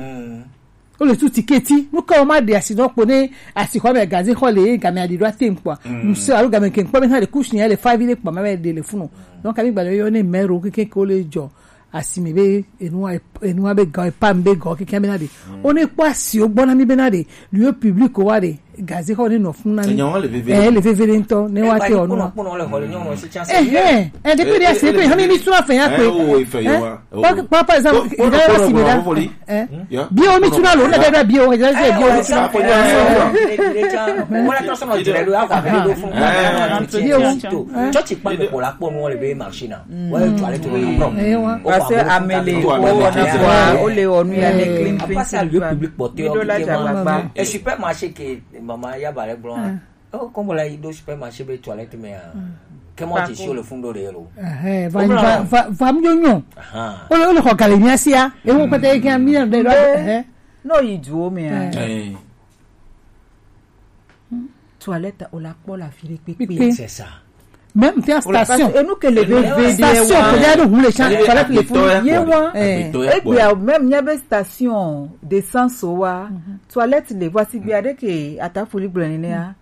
O le tu tiketi. Nu ka o ma de asi dɔ kpo ne asi xɔ me gazé xɔ le game adi dɔ te nkpɔ. Nu se alo game ke nkpɔ me na de kusi le fa vi le kpɔ ma me de le funu. Donc ami gba le yo ne mero ke ke ko le jɔ. Asime be enua enua be gɔ epa be gɔ keke be na de. O ne kpɔ asi o gbɔ na mi be na de. Lieu public wa de. Gazé xɔ ne nɔ fun na mi. Enyawo le veve. Eh, le veve de ŋutɔ ne wa te ɔnu. Eh eh. Eh, depuis de asi pe hami mi sura fɛ ya pe. Eh, o ife yo wa. Par par exemple, il a si me da. Eh. Bi o mi tuna lo na da bi o ja se bi o mi tuna. Wala to so no jere lo akwa be do fun. Church pa me ko la po no le be machine. Wọ́n yóò tún alẹ́ tó lórí prom. Parce que amele ko wona kwa o le onu ya ne clean clean. Apasa lieu public porté o kike ma. E supermarché ke mama ya bare blanc. O comme la ido supermarché be toilette me. Comment tu sur le fond de l'eau? Eh, va va va mi yo nyo. O le o le ko kale mi asia. E wo pete ke mi de lo. No yi duo me. Eh. Toilette o la kpɔ la fi ɖe kpekpe. C'est ça. Même te station. Enu ke le veve de station wa. Ko ya do hu le cha toilette le fun. Ye wa. Egbe a même nya be station d'essence wa. Toilette le voici gbe ade ke atafoli gblɔ nenea.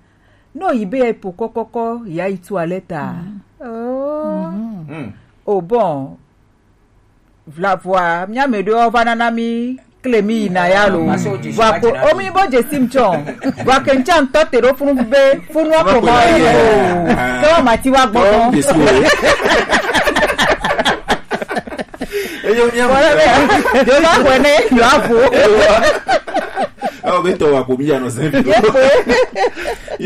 No yi be po kɔkɔkɔ ya yi toilette a. Oh. Oh bon. Vla vɔa, mía me ɖewo va nana mí kle mí yina ya lo. Vɔa ko omi bo dzesi ŋtsɔ. Vɔa ke ŋtsɔ ŋtɔ te ɖo funu be funu ko ma ye o. Ke wa mati wa gbɔ. Eyo mía. Wala be. Yo ba ko ne, yo afu. Awo be tɔ wa ko mi ya nɔ sɛn. Ye ko.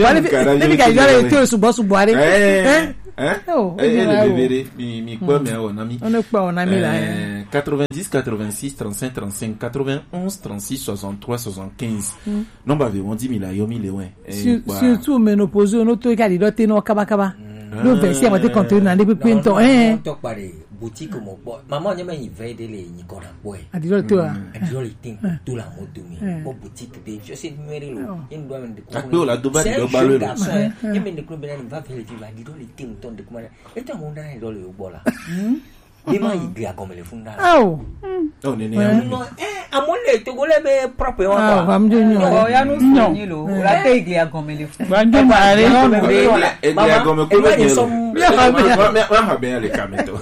Wale bi ka yale to sugbɔ sugbɔ ale. Eh. Hein? Oh, eh, eh, le bébé, mi, mi, quoi, mais on a mis. On ne peut, on a mis là, hein. Euh, quatre-vingt-dix, quatre-vingt-six, trente-cinq, trente-cinq, quatre-vingt-onze, trente-six, soixante-trois, soixante-quinze. Non, bah, on dit mille, yo, mille, ouais. Surtout, ménopause, on a tout égalé, l'autre, non, kaba, kaba. Donc, ben, si on va te contrôler dans les plus pintons, hein. Boutique mo kpɔ. Maman nye me yi vɛ de le nyi kɔ na kpɔe. Adiro to a. Adiro le tin ko to la mo to mi. Kpɔ boutique de je sais numéro lo. Ye ndo me de ko. Akpe o la do ba di do ba lo. Ye me de ko be na va vɛ le ti va adiro le tin to de ko ma. E to mo na do le gbɔ la. Ye ma yi gbe agɔme le fun da. Awo. Oh ne ne. Non, eh, amo le to go le be propre wa. Ah, va me dire non. Oh, ya no so ni lo. La te yi gbe agɔme le fun. Banjo mare. Egbe agɔme ko be ni lo. Wa ha be ya le kameto.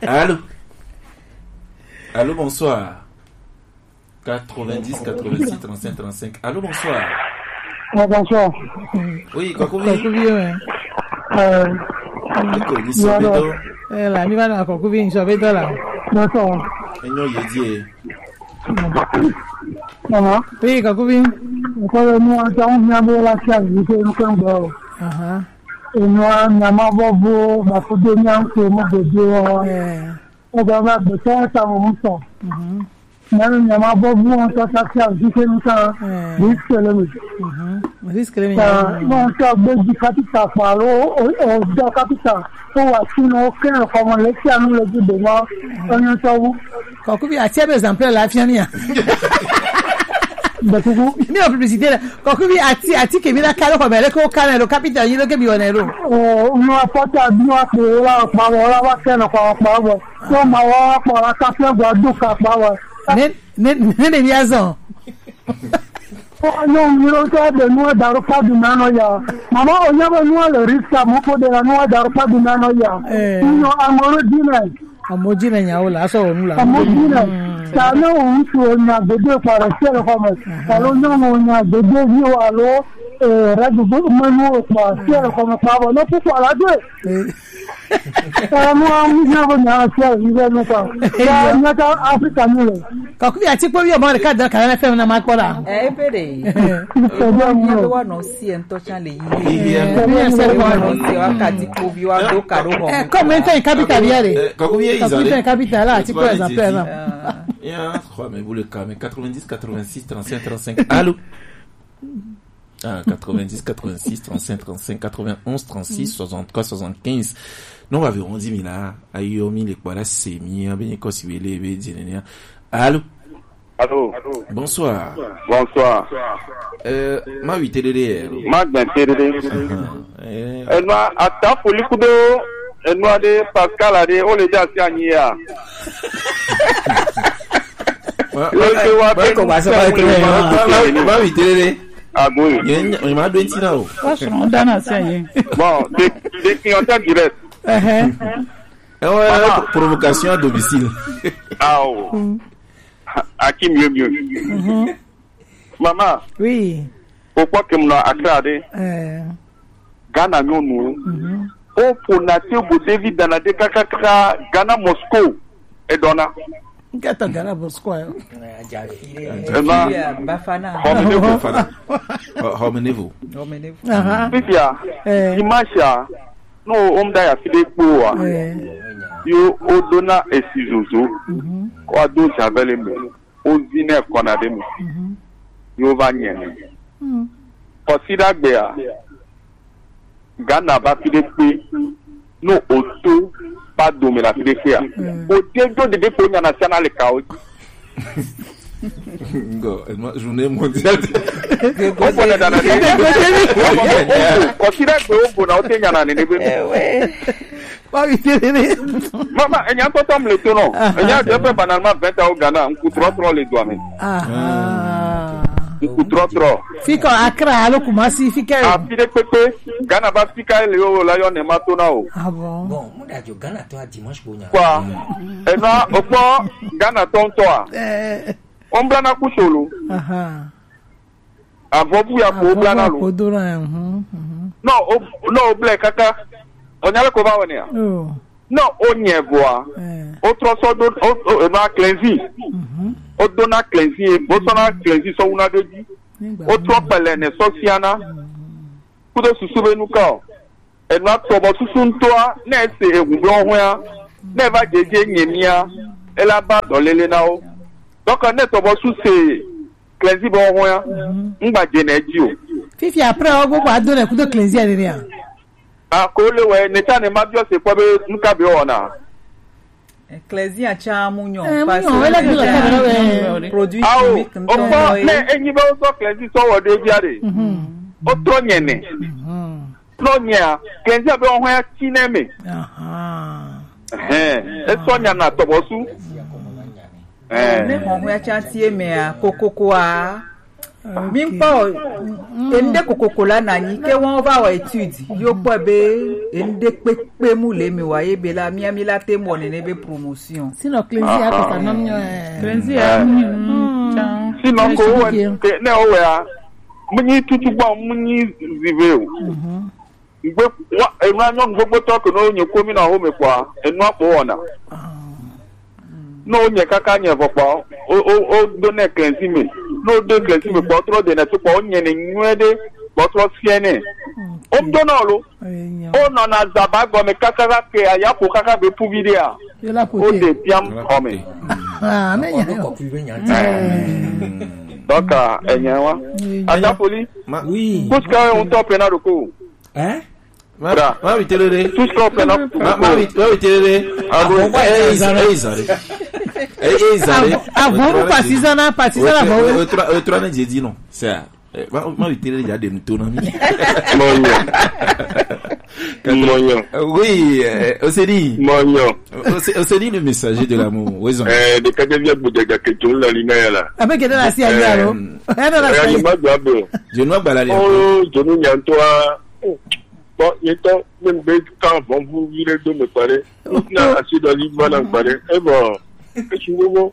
Allô? Allô, bonsoir. Quatre-vingt-dix, quatre-vingt-six, trente-cinq, trente-cinq. Allô, bonsoir. Ah, bonsoir. Oui, Kokovi. Kokovi, ouais. Euh, Eko, ni so bedo. Eh, la, mi va na Kokovi, ni so bedo la. Bonsoir. Enyo ye die. Mama. Oui, Kokovi. Ko le mo ta un mi abo la sia ni ko ko ngbo. Aha. Enu a mi ama bobo ba ko de mi an ko mo de de o. Eh. O ba ba be ta ta mo so. Mhm. Mɛmi nyama bɔ bu wɔn tɔ sasi a vi ke nuka. Risque le mi. Risque le mi. Bon, tɔ gbe di kapita fa lo o o dɔ kapita. O wa si no ke ko mo le si anu le di de ma. O nyo tɔ wu. Kɔkubi ati ebe exemple la fia mia. Bekuku. Mi o publicité la. Kɔkubi ati ati ke mi la kalo ko mele ko kana lo kapita yi lo ke bi wona lo. O no apota bi wa ko la pa wa la wa ke no ko pa wa. Tɔ ma wa kpɔ la kafe gba du ka kpa wa. Ne ne ne ne bia zɔn. Ɔ nyɔ mi lo tɔ de nu da ro pa du na nɔ ya. Mama o nya be nu le risk a mo ko de la nu da ro pa du na nɔ ya. Eh. Nyɔ amoro di na. Amo di na nya o la so nu la. Amo di na. Ta ne wo ŋutsu wo nya gbede kpa le se le xɔ me. Alo nyɔnu wo nya gbede vi wo alo, eh, radio bo menu wo kpa se le xɔ me kpa bo ne ku kpa la de. Eh, mo amu nya bo nya se le vi be no kpa. Ya nya ta Afrika ni le. Ka ku ya ti po bi o ma le ka da ka na fe na ma kpɔ la. Eh, pe de. Ko do mo. Wa no si en to chan le yi. Iya. Ko mi se ko no si wa ka ti po bi wa do ka do ko. Eh, comment en capital ya de. Ka ku ye izale. Comment en capital la ti po exemple. Ah. Il y a trois, mais vous le cas, mais quatre-vingt-dix, quatre-vingt-six, trente-cinq, trente-cinq. Allô? Ah, quatre-vingt-dix, quatre-vingt-six, trente-cinq, trente-cinq, quatre-vingt-onze, trente-six, soixante-trois, soixante-quinze. Non, on va vers onze mille là. Ayo, mille quoi là, c'est mi, hein, bien, quoi, si vous voulez, bien, bien, bien. Allô? Allô? Bonsoir. Bonsoir. Euh, ma huit T D D. Ma huit T D D. Eh. Enua, ata foli kudo, enua de Pascal ade, o le ja si anyi ya. Wa, wa, wa, wa, ko ba sa ba ko ma, ma, ma, ma, ma, huit T D D. Ah, bon. Ye, ye, ma do ti na o. Wa so, on dana sa ye. Bon, des, des clients en direct. Eh, eh. Eh ouais, pro-, provocation à domicile. Ah, oh. Hakim, mieux, mieux. Mhm. Mama, oui. O kpɔ ke mu nɔ Accra ɖe. Eh. Ghana nyɔnuwo. Mhm. O ƒona te bo ɖevi dana ɖe kakaka Ghana Moscow edɔna. Nkata Ghana Moscow ayo. Ema. Bafana. Hɔme nevo. Bafana. Hɔ-, hɔme nevo. Hɔme nevo. Aha. Fifia. Eh. Dimanche a, no, o mu da ya fi ɖe kpo wa. Eh. Yo, o dona esi zozo. Mhm. Wa do javel me. Wozinɛ kɔna ɖe me. Mhm. Yewo va nyɛnɛ. Mhm. Kɔsiɖagbea, Ghana va fi ɖe kpe, no oto va dome le afi ɖe kpea. Mhm. Ode do ɖeɖe kpo nyana siana le kawo dzi. Ngo, ema journée mondiale. Wo bɔna dana ɖe. Kɔsiɖagbe wo bona wote nyana nene be. Ewe. Wa wi tele ne. Mama, enya ŋutɔ tɔ mle to nɔ. Aha. Enya de pe banalement vingt ans au Ghana, ŋku trɔtrɔ le dua me. Aha. Ŋku trɔtrɔ. Fi kɔ Accra alo Kumasi fi kɛ. Afi ɖe kpekpe, Ghana ba fi ka le yo la yɔ ne ma to na o. Ah bon. Bon, mu da jo Ghana tɔ a dimanche bo nya. Quoi? Ena o kpɔ Ghana tɔ ŋutɔ a. Eh. O mu bla na ku solo. Aha. Avɔvu ya ko bla na lo. Avɔvu ya ko do na, mhm, mhm. No, o, no, o bla kaka. O nya le ko va wɔ ne ya? Oh. No, o nyɛ vɔa. Eh. O trɔ sɔ do, o, o, e ma cleansing. Mhm. O do na cleansing, o sɔ na cleansing sɔ wu na do dzi. Nígbà o trɔ náà. Pɛlɛ ne sɔ sia na. Mhm. Kudo susu be nu ka o. Enua tɔ bɔ susu ŋutɔa, ne ese eŋu blɔ hɔea, ne eva dzedze nye mia, ela ba dɔlele na wo. Donc, ne tɔ bɔ su se cleansing bɔ hɔea, mhm, ŋgba dze ne dzi o. Fifi après wo gbogbo ado le kudo cleansing ene nea. A ko le wɛ, ne ta ne ma biɔ se kpɔ be nuka be wɔna. Cleansing atsa mu nyɔ. Eh, mu nyɔ, ele bi le kamera wɛ. Produit chimique ŋutɔ ye. Ao, o kpɔ, ne enyi be wo sɔ cleansing sɔ wɔ ɖe bia ɖe. Mhm. O trɔ nyɛnɛ. Mhm. Nɔ nyea, cleansing be ohɔn ya ti nɛ me. Aha. Ɛhɛn, esɔ nya na tɔbɔsu. Eh. Ne hɔn ya tsa ti me a, kokoko a. Ok. Mi kpɔ, mm, ende kokoko la na nyi, ke wɔn va wɔ étude, yo kpɔ be ende kpekpe mu le mi wa ye be la, mi ami la te mɔ nene be promotion. Sinon, cleansing a ko sa nom nyo, eh. Cleansing a, mm, mm, tsa. Sinon, ko wɛ, ke, ne o wɛ a, mu nyi tutu gbɔ, mu nyi zive o. Mhm. Ŋgbe wa enua nyɔnu gbogbo tɔ ke no nye komi na home kpɔa, enua kpɔ wɔna. Ah. No nye kaka nye vɔ kpɔ, o, o, o do ne cleansing me. No do cleansing me kpɔ, trɔ de ne to kpɔ, o nye ne nyuie de, kpɔ trɔ fie ne. Mm. O do na lo. Eh, nya. O nɔ na zaba gɔme kaka ke aya ko kaka be puvi de a. Yo la pote. O de piam kɔme. Ah, ne nya yo. Donc, euh, enye wa. Eh, nya. Ata foli. Ma- oui. Kuska un top na doko. Hein? Ma, bra. Ma wi telele. Tout ce qu'on fait là. Ma, ma wi, ma wi telele. Ah bon? Eh, eh, Zare. Eh, eh, Zare. Avant, avant, vous passez ça, là, passez ça, là, bon. Trois, euh, trois, j'ai dit non. C'est ça. Eh, ma, ma wi telele, il y a des moutons, non? Mon Dieu. Mon Dieu. Euh, oui, euh, on s'est dit. Mon Dieu. On s'est, on s'est dit le messager de l'amour. Oui, Zare. Eh, de kaje via buja ja ke tun la lina ya la. Avec de la cia, eh, alors. Eh, de la cia. Eh, ma gba be. Je ne vois pas la. Oh, je nous nyantoa. Bon, il est temps, même de quand vont vous virer de me parler. Na asi dɔ li ma na gba ɖe. E bɔ, esi wo mo.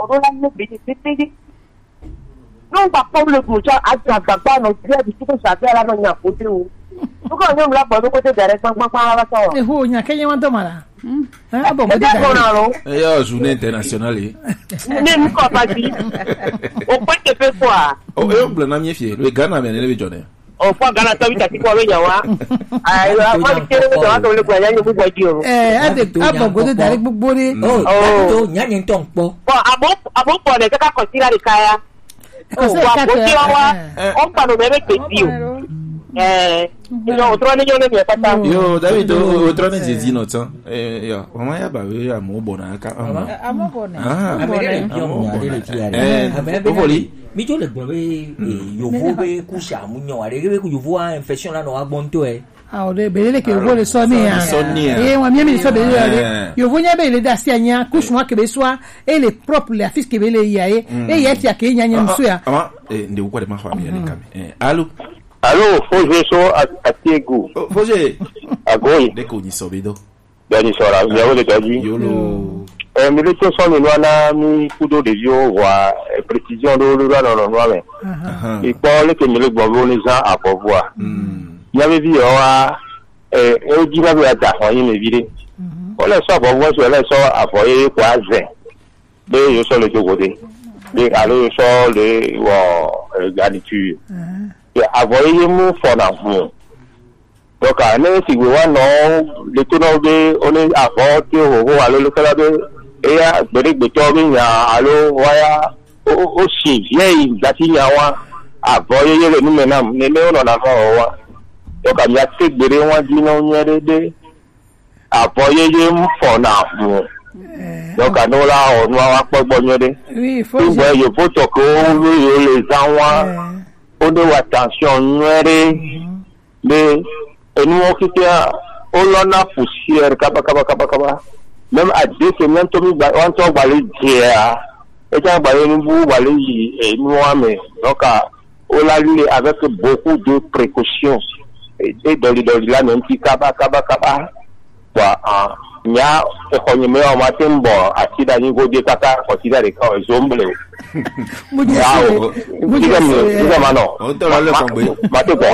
o ɖo la ne be de pe de. Ne ŋgba kpɔ le gu tsɔ aga gbagba nɔ bia di tuku sa bia la nɔ nya ko de o. Tuku nyo mla gbɔ ɖo ko de da ɖe gbagba gbagba la sɔ. Eho nya ke nye wa do ma la. Hmm. Eh, abo mo de da. Eda gbɔ na lo. Eya journée internationale ye. Ne mi kɔ pati. O ko te pe quoi. O yo gblɔ na mi fie, le Ghana me ne be jɔ ne. O fɔ Ghana tɔ bi tati kɔ be nya wa. Ayi wa, ma bi kere be jɔ wa to le gbɔ nya nyu gbɔ di o. Eh, ade abo go de da ɖe gbogbo ɖe. Oh, oh. To nya nyi ntɔ nkpɔ. Bon, abo abo kɔ ne kaka kɔ sira de kaya. Kɔsɛ wa kate, ko ti wa wa. Eh. O kpa no me be pe ti o. Eh. Yo, o trɔ ni yo ne mi pata. Yo, David, o o trɔ ne Jésus no tan. Eh, yo, mama ya ba we ya mo bona ka. Ama. Amo bone. Ah, Amo bone. Amo bone. Eh, o foli. Mi jo le gbɔ be, eh, yovo be kusa mu nyo are be ku yovo a infection la no agbon to e. Ah, o de be le ke yovo le sɔ ni ya. Sɔ ni ya. Eh, wa mi mi sɔ be le. Eh. Yovo nya be le da si anya kusu wa ke be swa e le propre le afis ke be le ya e. E ya ti ake nya nya musu ya. Ama, eh, nde ukwa de ma fa mi ya le kame. Eh, allô. Allô, Foje so a- Atiegu. Oh, Foje. Agoyi. De ko ni sɔ be do. Dɔni sɔra, miawo le dɔji. Yolo. Eh, mi le to sɔ mi nua na mi kudo ɖeviwo wa eh, précision ɖo ɖo ɖo nɔ nɔ nua me. Ahan. Ikpɔ leke mi le gbɔ be wo ne zã avɔvua. Hmm. Mia be vi yɔ wa eh eh di na be ada xɔ yin me vi ɖe. Wo le sɔ avɔvua so le sɔ avɔ ye ko azɛ. Be yo sɔ le do go de, be alo yo sɔ le wɔ garniture. Ye avɔ ye ye mu fɔ na hun. Donc ne sigbe wa nɔ le to nɔ be o ne avɔ te ho ho alo le kala be eya gbede gbetɔ be nya alo wa ya o o si ye yi gati nya wa avɔ ye ye le nu me nam ne ne o nɔ na fɔ wa. Donc mi a te gbede wa di nɔ nyuie ɖe ɖe. Avɔ yeye mu fɔ na hu. Donc anu la wɔ nua wa kpɔ gbɔ nyuie ɖe. Oui, il faut. Ŋgbɛ yevo tɔ ke wo wo yo le zan wa. Wo ne wa attention nyuie ɖe. Be enuwo kikia wo lɔ na poussière kaba kaba kaba kaba. Même à deux semaines to mi gba wa ŋutɔ gba le dzea. Eta gba le nubu gba le yi enuwa me. Donc wo la li avec beaucoup de précautions. Et dɔli dɔli la même ti kaba kaba kaba. Bon, ah, nya exɔ nye me wa ma te bɔ ati da nyi godi kaka kɔsi da de ka zo mble. Mu di se. Mu di se. Mu di ma no. O tɔ la le kɔgbe. Ma te bɔ.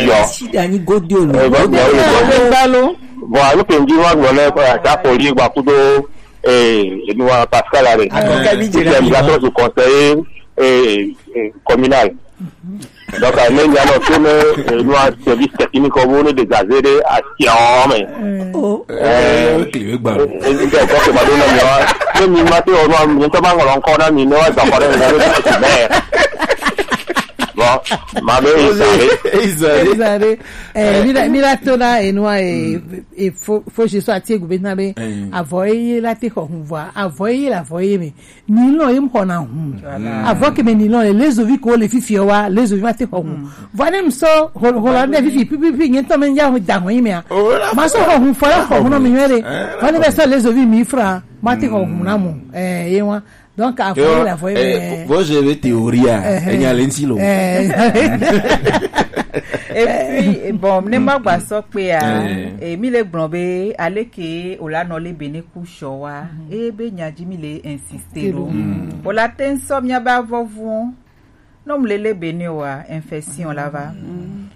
Yo. Si da nyi godi o. Eh, bon, bon, bon. Bon, anu ke ndi wa gblɔ le ta ko li gba kudo eh enu wa Pascal are. Akɔka bi jira. Ni la to conseiller eh communal. Donc ne nya no to ne enu wa service technique ko bo ne dégager de action mais. Oh. Eh, kile gba. Eh, nde ko ke ma do na mi wa. Ne mi ma te o no mi to ba ngolo nko na mi ne wa za ko na mi. Bon, ma be izare. Izare. Izare. Eh, mi la mi la to na enu wa eh e fo fo je so ati egu be na be. Avɔ eye la te xɔ hun vɔ avɔ eye la avɔ eye me. Nilɔn ye mu xɔ na hun. Avɔ ke me nilɔn ye lezovi ko le fifi wa lezovi ma te xɔ hun. Vɔ ne mi sɔ hola ne fifi pipipi nye tɔ me nya da hun yi me a. Ma sɔ xɔ hun fɔ la xɔ hun no mi nyuie ɖe. Vɔ ne be sɔ lezovi mi fra ma te xɔ hun na mo. Eh, ye wa. Donc avɔ ye la avɔ ye me. Vɔ je vais théorie a. Enya le nti lo. Et puis bon ne ma gba sɔ pe a. E mi le gblɔ be aleke o la nɔ le be ne ku sɔ wa. E be nya ji mi le insister lo. O la te ŋsɔ mia ba vɔvɔ. No mle le be ne wa infection la va.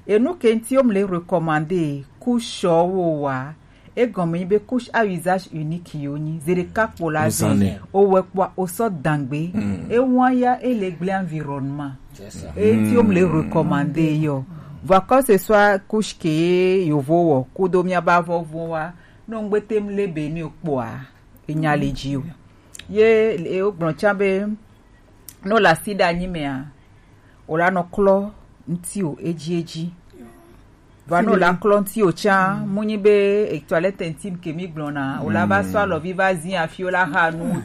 E nu ke nti o mle recommander ku sɔ wo wa. Egɔme nyi be couche à usage unique yo nyi. Ze ɖeka kpo la zan. Owɛ kpoa osɔ dangbe. Ewa ya ele gble environnement. Eti o mle recommander yo. Vɔ que ce soit couche ke yovo wɔ kudo mia ba vɔvɔ wa. No ngbe te mle be ni o kpoa. Enya le ji o. Ye e o gblɔ tsa be no la sida nyi mea. O la nɔ klɔ ŋti o edzi edzi. Vɔ no la klɔ ŋti o tsa mu nyi be toilette intime ke mi gblɔna o la va sɔ alɔvi va zi afi o la ha nu